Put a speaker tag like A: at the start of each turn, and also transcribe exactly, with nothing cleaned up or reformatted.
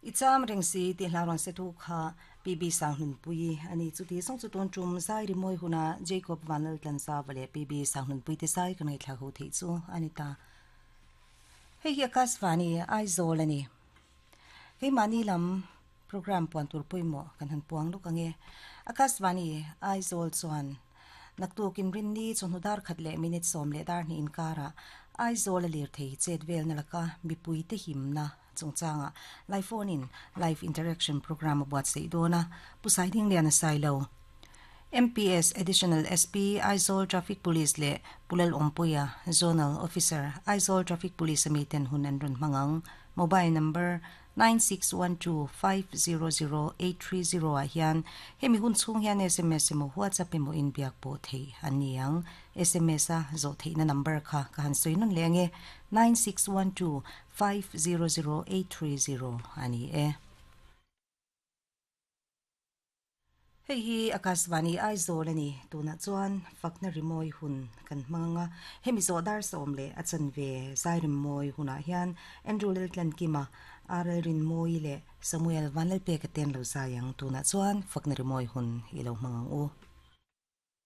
A: I cham reng si tih hla rawn se thu kha P B Sanghmunpui ani chuti sawng chu tun tum zai rimawi huna Jacob Vanlal Tlanzava leh P B Sanghmunpui te zai ka ngaithla ho theih chu ani ta. Hei hi Akashvani Aizawl ani. Keimahni lam program puan tur pawimawh kan han puang lawk ange. Akashvani Aizawl chuan naktukin rinni chawhnu dar khat leh minute sawm leh dar hnih inkarah Aizawl a lir thei chet velna laka mipui te himna chungchanga live phone in live interaction program a buatsaih dawn a, Pu Saiding Lian a sai lo. M P S Additional S P Aizawl Traffic Police leh Pu Lal Awmpuia Zonal Officer Aizawl Traffic Police ami ten hun an rawn hmang ang. Mobile number nine six one two five zero zero eight three zero ah hian hemi hun chhung hian S M S emaw WhatsApp emaw inbiak pawh theih an ni ang. S M S a zawh theihna number kha ka han sawi nawn leh ange nine six one two five zero zero eight three zero a ni e. Hei hi Akashvani Aizawl a ni. Tunah chuan fakna rimawi hun kan hmang anga hemi zawh dar sawm leh a chanve zai rimawi hunah hian Andrew Laltlankima, R L Rinmawi leh Samuel Vanlalpeka te an lo zai ang. Tunah chuan fakna rimawi hun i lo hmang ang u.